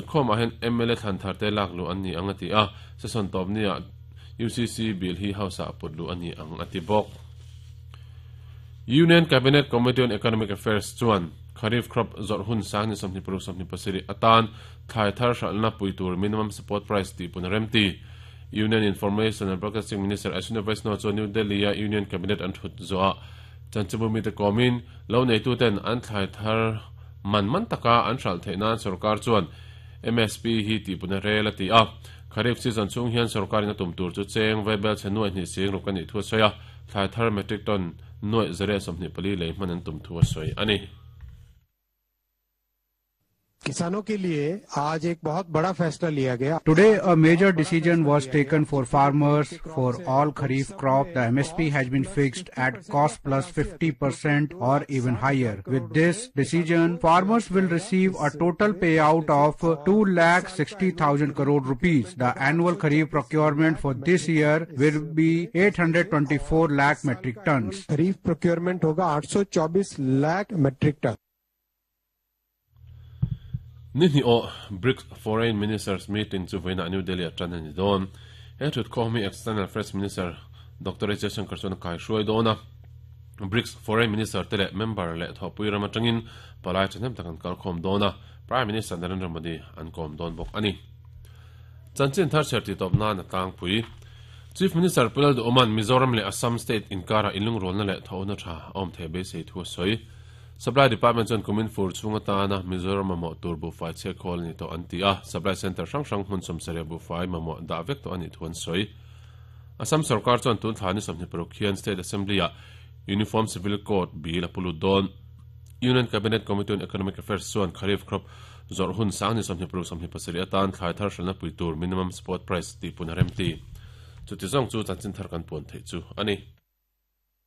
Thutkhawmah hian mla thlan tharte lak luh an ni ang a ti a, session tawp niah UCC bill hi House-ah put luh a ni ang a ti bawk. Union Cabinet Committee on Economic Affairs chuan Kharif crop zawrh hun sang ni 26 27 atan thlai thar hralhna pui tur minimum support price tih pun a remti. Union Information and Broadcasting Minister Ashwini Vaishnaw chuan New Delhi-a Union Cabinet an thut zawhah chanchinbu mite kawmin lo neituten an thlai thar man man taka an hralh theih nan sorkar chuan MSP hi tihpun a rel a ti a. Kharif season chhung hian sorkarin a tum tur chu cheng vaibel chhe nuaih hnih sing ruk a nih thu a sawi a, thlai thar metric ton nuaih zariah 24 lei hman an tum thu a sawi a ni. किसानों के लिए आज एक बहुत बड़ा फैसला लिया गया Today a major decision was taken for farmers for all kharif crop the MSP has been fixed at cost plus 50% or even higher. With this decision farmers will receive a total payout of 2,60,000 crore rupees. The annual kharif procurement for this year will be 824 lakh metric tons. Kharif procurement होगा 824 lakh metric ton. Ni hnih awh BRICS Foreign Ministers Meeting chu vawiinah New Delhi-ah tan a ni dawn. He thutkhawm hi External Affairs Minister Doctor H Jaishankar chuan a kaihruai dawn a. BRICS Foreign Minister te leh member leh thawhpui ram atangin palai thahnem tak an kalkhawm dawn a, Prime Minister Narendra Modi an kawm dawn bawk a ni. Chanchin thar chher tih tawp nan a tlangpui. Chief Minister Pu Lalduhawma'n Mizoram leh Assam State inkarah inlungrualna leh thawhna tha a awm theih beisei thu a sawi. Supply Department chuan kumin fur chhung atana Mizoram mamawh tur buhfai chhiat khawl a ni tawh an ti a, Supply Centre hrang hrang hmun sawmsarih buhfai mamawh dah vek tawh a nih thu an sawi. Assam sorkar chuan tun thla ni 26 hian State Assembly-ah Uniform Civil Code bill a pu lut dawn. Union Cabinet Committee on Economic Affairs chuan Kharif crop zawrh hun sang ni 26 27 atan thlai thar hralhna pui tur minimum support price tih pun a remti. Chuti zawng chu chanchin thar kan puan theih chu a ni.